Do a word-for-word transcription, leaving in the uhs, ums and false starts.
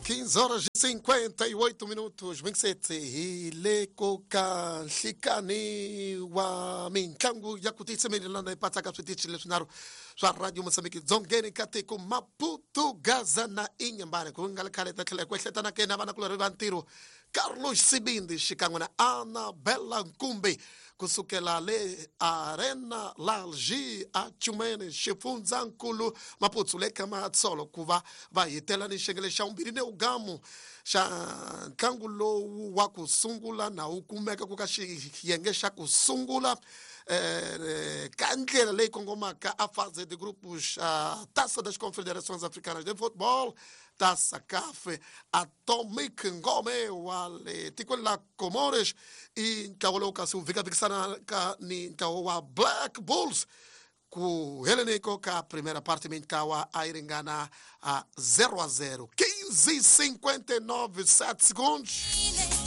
quinze horas e cinquenta e oito minutos, vinte e sete hi le ku ka nhlikani wa mitlangu ya ku tiyisemelelana yi patsaka switichi leswinharhu swa radio Mozambique dzongeni ka tiko Maputo, Gaza na Inhambane. Ku nga ri khale ta tlhela hi ku ehleketa na kena vanakulorhi va ntirho Carlos Sibindi xikan'we na Anabella Nkumbi kusukela le Arena Lalji a Chumene xifundzankulu Maputo le ka Matsolo ku va va hitela ni xiyenge xa vumbirhi ni ugamu xa ntlangu lowu wa ku sungula na wu kumeka ku ka xiyenge xa ku sungula eh, ka ndlela leyi kongomaka a fase de grupos a Taça das Confederações Africanas de Futebol, Taça C A F. Atomic Ngome wa le tikweni la Comores i ntlawa lowu kasi wu vhikavikisanaka ni ntlawa wa Black Bulls. Ku heleniko ka primeira parte mintlawa a yi ringana a zero a zero. quinze e cinquenta e nove, sete segundos.